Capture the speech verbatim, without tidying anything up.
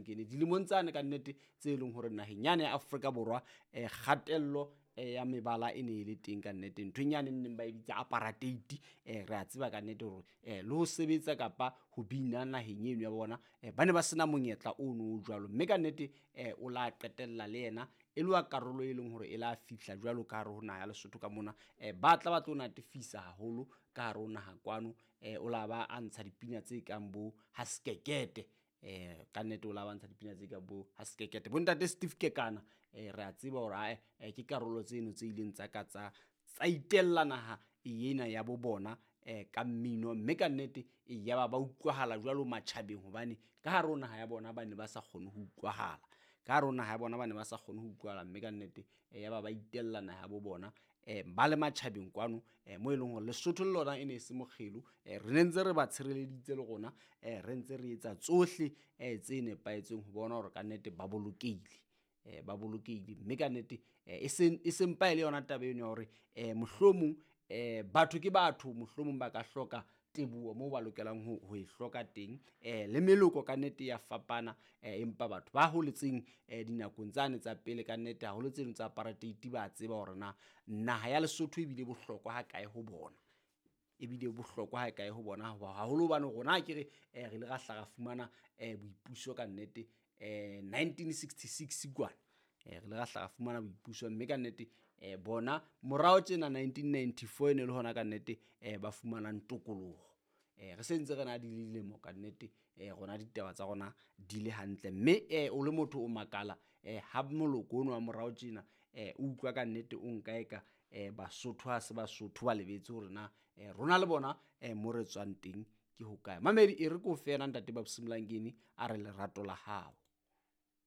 Mlangeni dilemong tsane ka nnete tse leng hore naheng yane ya Afrika Borwa eh kgatello eh, ya mebala e ne e le teng ka nnete. Nthong yane neng ba e bitsa apartheid, eh re a tseba ka nnete hore eh le ho sebetsa kapa ho bina naheng eno ya bona eh ba ne ba sena monyetla ono o jwalo. Mme ka nnete eh o la qetella le yena e le wa karolo e leng hore e la fihla jwalo ka hare ho naha ya Lesotho ka mona. Eh ba tla ba tlo natefisa haholo ka hare ho naha kwano. Eh o la ba a ntsha dipina tse kang bo ha sekekete, eh ka nnete o la ba ntsha dipina tse kang bo ha sekekete. Bontate Steve Kekana eh re a tseba hore ae eh, ke karolo tseno tse ileng tsa ka tsa tsa itella naha ena ya bo bona eh ka mmino. Mme ka nnete e ya ba ba utlwahala jwalo matjhabeng, hobane ka hare ho naha ya bona ba ne ba sa kgone ho utlwahala. Ka hare ho naha ya bona ba ne ba sa kgone ho utlwahala, mme ka nnete eh, ya ba ba itella naha ya bo bona eh ba le matjhabeng kwano eh mo e leng hore Lesotho le lona e ne e se mokgelo. Eh re ne ntse re ba tshireleditse le rona, eh re ntse re etsa tsohle eh tse nepahetseng ho bona hore ka nnete ba bolokehile, eh ba bolokehile. Mme ka nnete eh e seng e seng pa e le yona taba eno ya hore eh mohlomong eh batho ke batho, mohlomong ba ka hloka teboho moo ba lokelang ho ho e hloka teng. Eh le meloko ka nnete ya fapana, eh empa batho ba holetseng eh dinakong tsane tsa pele ka nnete haholo tseno tsa apartheid ba tseba hore na naha ya Lesotho ebile bohlokwa ha kae ho bona, ebile bohlokwa ha kae ho bona haholo hobane rona akere eh re ile ra hla ra fumana eh boipuso ka nnete eh nineteen sixty-six kwana. Eh re ile ra hla ra fumana boipuso, mme ka nnete eh bona morao tjena nineteen ninety-four e ne le hona ka nnete eh ba fumanang tokoloho. Eh re sentse re na le dilemo ka nnete eh rona ditaba tsa rona di le hantle. Mme eh o le motho o makala eh ha moloko ono wa morao tjena eh o utlwa ka nnete o nka eka eh Basotho ha se Basotho ba lebetse hore na eh rona le bona eh mo re tswang teng ke hokae. Mamedi e re ko fela ntate Babs Mlangeni a re lerato la hao.